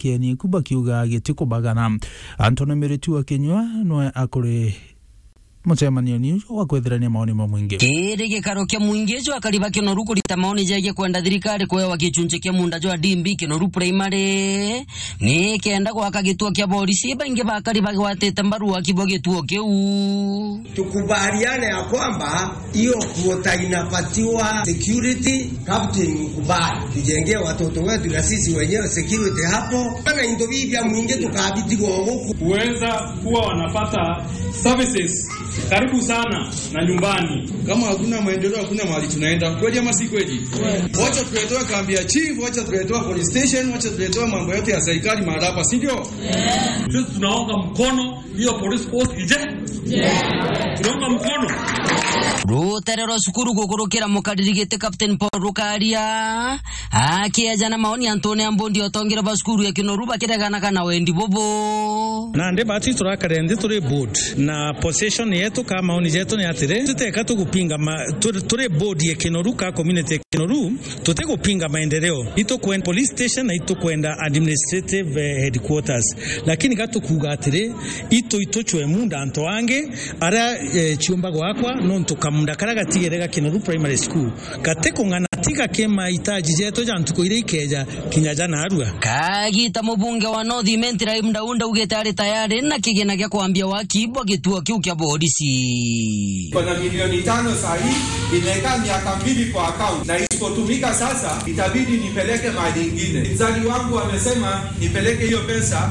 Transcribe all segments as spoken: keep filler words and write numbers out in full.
Kieni ku bakiuga gitikubagana. Anthony Miritu wa Kinyua nwe akuri mucemanioni uju wa kwithirania maoni ma mwingi. Kiri gikaro kia mwingi uju akari ba Kinoru kurita maoni jegie kwenda thirikari kuewa gichunchi kia munda jwa D M B Kinoru Primary, ni kenda gwaka gituo kia borisi, baingi bakari bagwatite mbaru waki bwa gituo kiu. Tukubaliane ya kwamba hiyo kuota inapatiwa security, captain ukubali. Tujengee watoto wetu na sisi wenyewe security hapo. Kana into bibi ya mwingi tukabitigwo guku. Kuweza kuwa wanapata services karibu sana na nyumbani. Kama hakuna maendeleo, hakuna mahali tunaenda. Kweli ama si kweli? Wacha tuletewe kambi ya chief, wacha tuletewe police station, wacha tuletewe mambo yote ya serikali mahali hapa, si ndio? Sisi tunaunga mkono hiyo police post ije. Tunaunga mkono. Rutere rwa cukuru gukurukira mukariri giti Captain Paul Rukaria, akieja na maoni antune a mbundi otongire ba cukuru ya Kinoru bakireganaga na wendi bubu. Nandi bati turakare nthi turi board, na position yetu ka maoni jetu ni atiri, tuteka tugupinga ma-, turi, turi board ya Kinoru ka community ya Kinoru, tutigupinga maendeleo. Itukwenda police station na itukwenda administrative, eh, headquarters. Lakini gatukuuga atiri, itu ituchwe munda antu angi, aria, eh, chiumba gwakwa, nontu kamunda karia gatigere ga Kinoru Primary School. Gati kung'ana tiga ki mahitaji jetu ja ntuku iria ikeja kinya ja narua. Kagita mubunge wa North Imenti Rahim Daunda augite ari tayari na kigina gia kwambia waki bwa gituo kiu kia borisi. Kuna milioni tano saa hii, imekaa miaka mbili kwa account, na isipotumika sasa, itabidi nipeleke mahali ingine. Mzali wangu amesema nipeleke hiyo pesa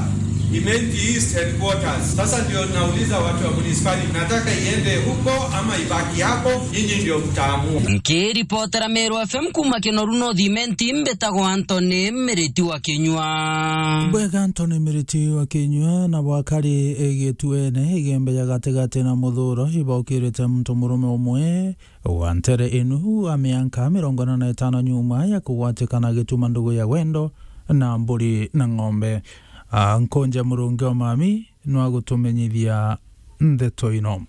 Imenti East headquarters. Sasa ndio nauliza watu wa municipality, nataka iende huko ama ibaki hapo, nyinyi ndio mtaamua. Nkiripotera Meru F M kuma Kinoru North Imenti, mbitagwa Anthony Miriti wa Kinyua. Bwega Anthony Miriti wa Kinyua, na bwakari igituene igembe ya gatigati na muthuro, ibaukirite muntu murume umwe wa ntere inu wa mianka mirongo ina na itano nyuma ya kugwatikana gituma ndugu ya wendo na mburi na ng'ombe. A, Nkunja Murungi wa Mami nwa gutumenyithia ndeto ino.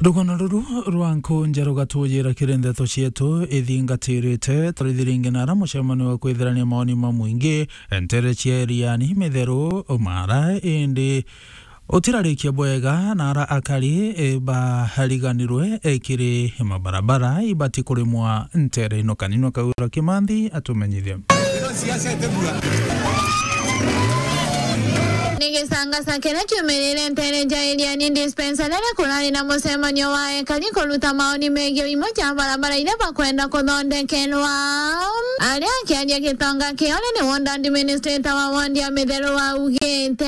Rugano ruru rwa Nkunja rugatujira kiri ndeto cietu ithingatirite. Turithi ringi nara mucemanio wa kwithirania maoni ma mwingi ntere cia Iriani, Mitheru, Umara, indi utirarikia bwega nara akari, e, bariganirwe, e, kiri mabarabara ibati kurimwa ntere ino. Kaninwa Kaura Kimanthi atumenyithie. Ni gisangasa kiria kiumirire ntere ja Iriani Dispensary, riria kurari na mucemanio wa ekari kuruta maoni megii uimo ja barabara iria bakwenda kuthondekerwa. Aria akiaria gitonga kiu ni ward administrator wa ward ya Mitheru augite.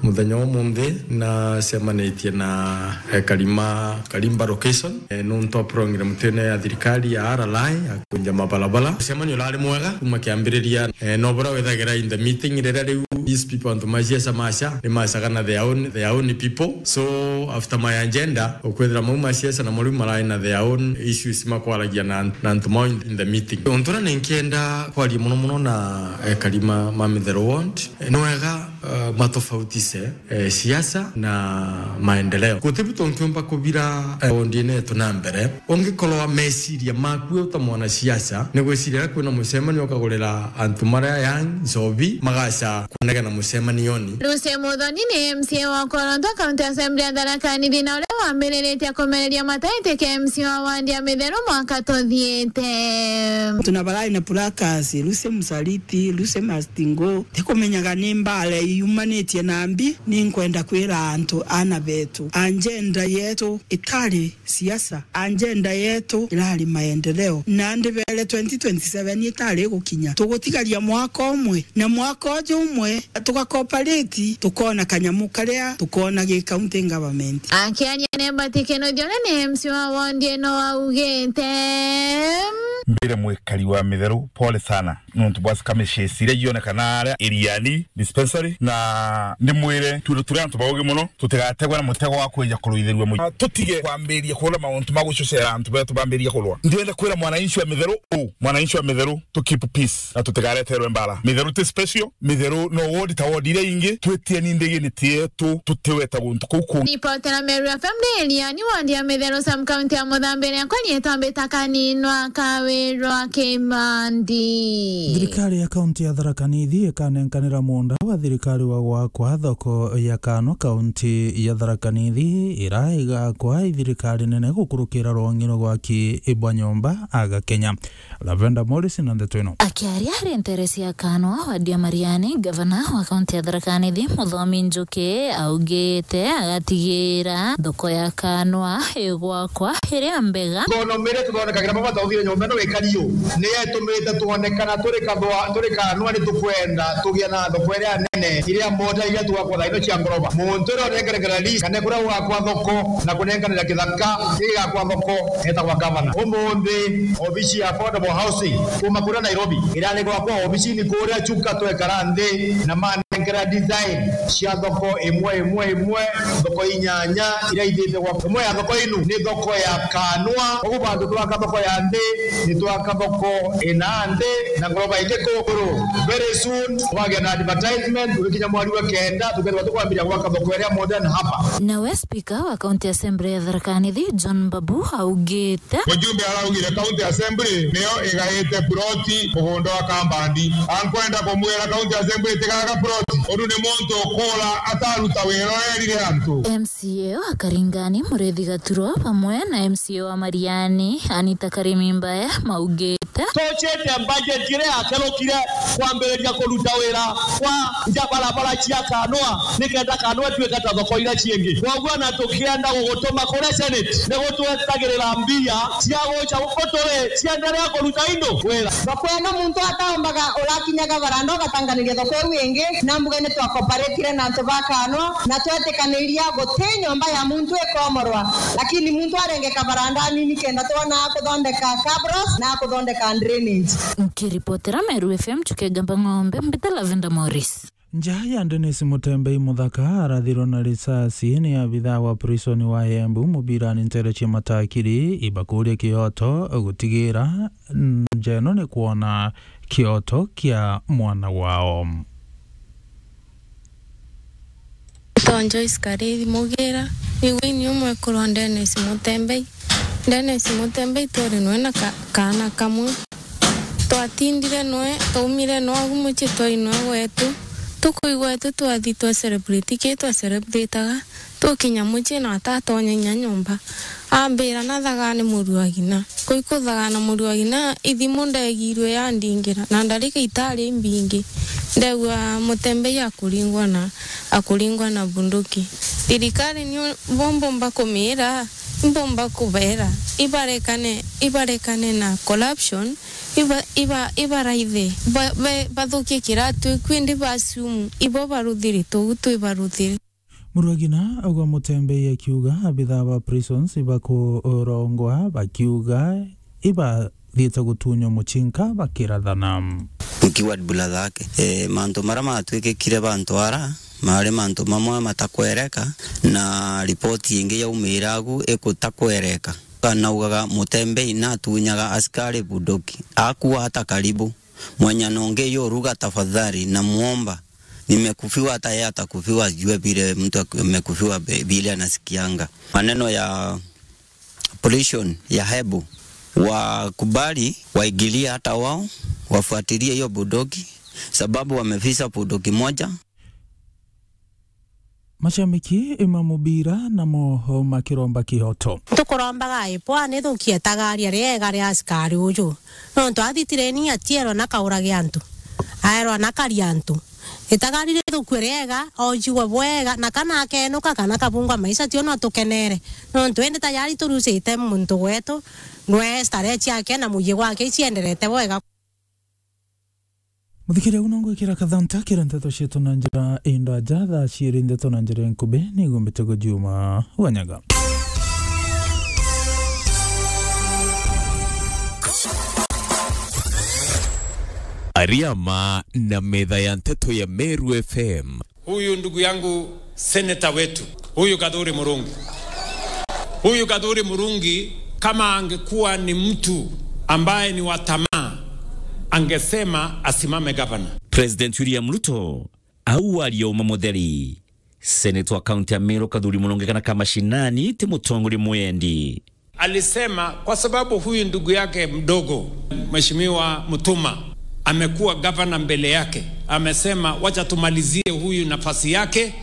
Muthenya wa umunthi nacemanitie na ekari ma Karimba location, eh, nuntu wa program tene ya thirikari ya R L I ya kunja mabarabara. Mucemanio urari mwega kuma kiambiriria, eh, no bura withagira in the meeting riria riu these people, antu ma siasa maca, ni macaga na their own, their own people. So after my agenda, ukwithira mau ma siasa namo riu marai na their own issues makwaragia na, na antu mao in, in the meeting. Untu uria ninkienda kwaria muno muno na ekari ma, ma Mitheru ward, eh, ni wega, eh, matofautise eh, siasa na maendeleo. Gutibu tunkiumba kubira, eh, ward-ini yetu na mbere. Ungikorwa meciria maku wi uta mwanasiasa, ni gwiciria riria kwina mucemanio ukagurira antu maria young nchobi, magaca kunegena mucemanioni. Lucy Muthoni ni M C A wa Koronto County Assembly ya Tharaka Nithi, na uria wambiriritie kumereria mataitikia M C A wa ward ya Mitheru mwaka tuthiite. Tuna barai na placards, Lucy Musaliti, Lucy Mastingo, tikumenyaga ni mbara yumanitie na mbi. Ni nkwenda kwira antu, ana betu, agenda yetu itari siasa, agenda yetu irari maendeleo. Na ndibere twenty twenty-seven itari gukinya, tugutigaria mwaka umwe, na mwaka uju umwe tugakopareti, tukona kanyamu karia tukona gi county government. Akiaria ni Mbati Kinuthia, uria ni M C A wa ward ino, augite. Mbire mwikari wa Mitheru, pole sana nontu bwa skirmishes iria cionekana aria Iriani dispensary, na ndimwire twire turi antu baugi mono, tutigategwe na mutego wa kwija kuruithirua mwi-, tutige kwambiria kurwa mauntu ma gucocera antu betu bambiria kurwa. Ndienda kwira mwananchi wa Mitheru, u mwananchi wa Mitheru, to keep peace na tutigareterwe mbara. Mitheru ti special, Mitheru no ward ta ward iria ingi, twitieni ndigi ni tietu, tutiweta guntu kuu kungi. Ripoti ya Meru F M ni Iriani, ward ya Mitheru, sub county ya Muthambi, riakwa rietwa Mbita Kaninwa Kawirwa Kimandi. Thirikari ya kaunti ya Tharaka Nithi ikanenkanira muunda wa thirikari wa gwakwa thoko ya Kanwa, kaunti ya Tharaka Nithi, ira igakwa i thirikari nene gukurukira rwang'i rwa gwaki bwa nyomba aga Kenya. Lavenda Morris na ndeto ino. Akiaria ari ntere cia Kanwa, wadi ya Mariani, gavana wa kaunti ya Tharaka Nithi, Muthomi Njuki, augite agatigira thoko ya Kanwa igwakwa iria mbega. Economy iria tuthondekagira baba tauthire nyomba ino ikari yu, ni yetumite twonekana turi kathwa-, turi Kanwa, ni tukwenda tugie na thoko iria nene, iria mota iria tugakwa thaino cia ngoroba. Muntu uria unengerekana list, kana kuria gugakwa thoko na kunenkanira kithaka gigakwa thoko, etagwa gavana. Umunthi, obici ya affordable housing kuma kuria Nairobi irari gwakwa obicini kuria Chuka, twekara nthi na manenkera design cia thoko imwe, imwe, imwe, thoko inyanya iria ithite gwakwa. Imwe ya thoko inu ni thoko ya Kanwa. Ugu bantu twaka thoko ya nthi, ni twaka thoko ina nthi na ngoroba ingi kuguru. Very soon, twagia na advertisement, ugikinya mweri wa kenda, tukethirwa tukwambiria gwaka thoko iria modern hapa. Nawe speaker wa County Assembly ya Tharaka Nithi, John Mbabu, augite. Mujumbe araugire County Assembly niyo igaite ploti mugunda wa Kambandi. Ankwenda kumwira County Assembly itigaga ploti. Undu ni muntu ukuura ataruta wira urerire antu. M C A wa Karingani, Murithi Gaturo, bamwe na M C A wa Mariani, Anita Karimi Mbaya, maugite. Tucite budget iria yakerukire kwambiriria kuruta wira kwa nja barabara cia Kanwa, nikenda Kanwa ituike ta thoko iria ciingi. Kwoguo na tukienda gugutuma kuria Senate, ni gutwetagirira mbia cia guca guturi cienderea kuruta indu wira. Thoko ino muntu ataombaga urakinyaga baranda ugatanganiria thoko iu ingi, na mbuge ni twakoparetire na antu ba Kanwa, na twetikaniria guti nyomba ya muntu ikomorwa, lakini muntu arenge kabaranda anini kenda twona akuthondeka cabros na akuthondeka drainage. Nkiripotera Meru F M, Chuke Gamba Ng'ombe, mbita Lavenda Morris. Nja ya Dennis Mutembei Muthaka arathirwo na risasi ni abithaa wa prison wa Embu mubirani ntere cia Matakiri, ibakuria kioto gutigira nja ino ni kwona kioto kia mwana wao. Tonjo Iskarithi Mugira, nigwe ini umwe kurwa Dennis Mutembei. Dennis Mutembei twari nwe na ka-, kaana kamwe. Twatindire nwe, twaumire nwe agu mucii twai nwe gwetu. Tukuigwa etu twathi twa celebrate ki twa celebrataga. Tukinya mucii na atatonya inya nyomba. Ambira nathagane muru wa ng'ina. Kui kuthagana muru wa ng'ina, ithimu ndegirwe yandingira, na ndarika itari imbingi. Ndegua Mutembei akuringwa na, akuringwa na bunduki. Thirikari ni bo mbumba kumira, mbumba kubera, ibarekane, ibarekane na corruption, iba, iba, ibaraithe, ba, ba, bathukie kiratu, kwindi basumu, ibo baruthire, tugu twi baruthire. Murwagina augwa Mutembei akiuga abithaa ba prisons ibakurongwa bakiuga ibathiite gutunywa mucinka bakirathana. Nkiwa brother yake. Eh, mantu maria matwikikire bantu ara mari mantu mamwe matakwereka, na ripoti ingi yaumire agu ikutakwereka. Anaugaga Mutembei natunyaga askari bunduki, akua hata karibu. Mwenye nonge yo ruga tafadhali, namuomba. Nimekufiwa, hata yeye atakufiwa, ajue vile mtu ak-, amekufiwa be-, vile anasikianga. Maneno ya pollution ya hebu, wakubali, waigilie hata wao, wafuatilie hiyo bunduki, sababu wamefisa bunduki moja. Mashabiki ma mubira namo makiromba kioto. Tukurombaga ipwa ni thukie tagaria riega ria askari uju. Nontu athi tireni atierwa na kaurage antu. Aerwa na karia antu. Itagari rithukue riega, ojigwe bwega, na kana akenuka kana kabungwa maisha tio no tukenere. Nontu indi tayari turucite muntu gwetu, nwe starehe ciake na muyi gwake icienderete bwega. Muthikiria, uno ngwikira kathanta kira nteto cietu na njira indaja, thaa ciiri nteto na njira inkubi, nigumbite gujuma wanyaga. Ariama na metha ya nteto ya Meru F M. Huyu ndugu yangu seneta wetu, huyu Gathuri Murungi. Huyu Gathuri Murungi, kama angekuwa ni mtu ambaye ni wa tamaa, angesema asimame gavana. President William Ruto au aria uma mutheri. Seneta wa kaunti ya Meru Gathuri Murungi kana ka mashinani ti mutongoria mwendi. Alisema kwa sababu huyu ndugu yake mdogo, Mheshimiwa Mutuma, amekuwa gavana mbele yake, amesema, "Wacha tumalizie huyu nafasi yake,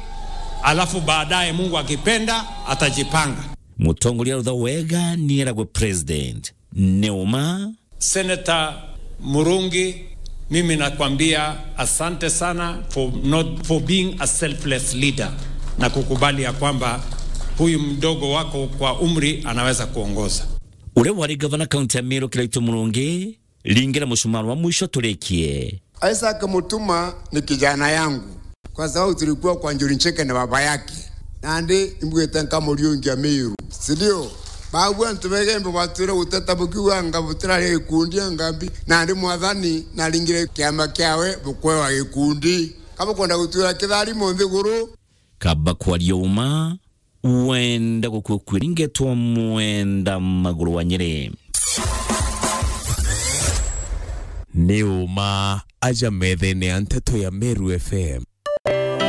alafu baadaye Mungu akipenda atajipanga." Mutongoria arutha wega ni eragwe president. Ni uma. Senator Murungi, mimi nakwambia asante sana for not, for being a selfless leader na kukubali ya kwamba huyu mdogo wako kwa umri anaweza kuongoza. Uria wari gavana kaunti ya Meru Kiraitu Murungi, ringira mucumaa wa mwisho turikie. Isaac Mutuma ni kijana yangu, kwa sababu tulikuwa kwa Njuri Ncheke na baba yake. Nandi imbwite nkamuriungia Meru, si ndio? Babu antu begembe batwire guteta bukiuga anga butirari gikundi anga mbi. Nandi Mwathani naringire kiama kiawe bukwewa gikundi. Kabukwenda gutwira kitharimo nthiguru. Kaba kwaria uma, wenda gukua kwiringetwa mwenda maguru wa Nyeri. Ni uma aja methene ya nteto ya Meru F M.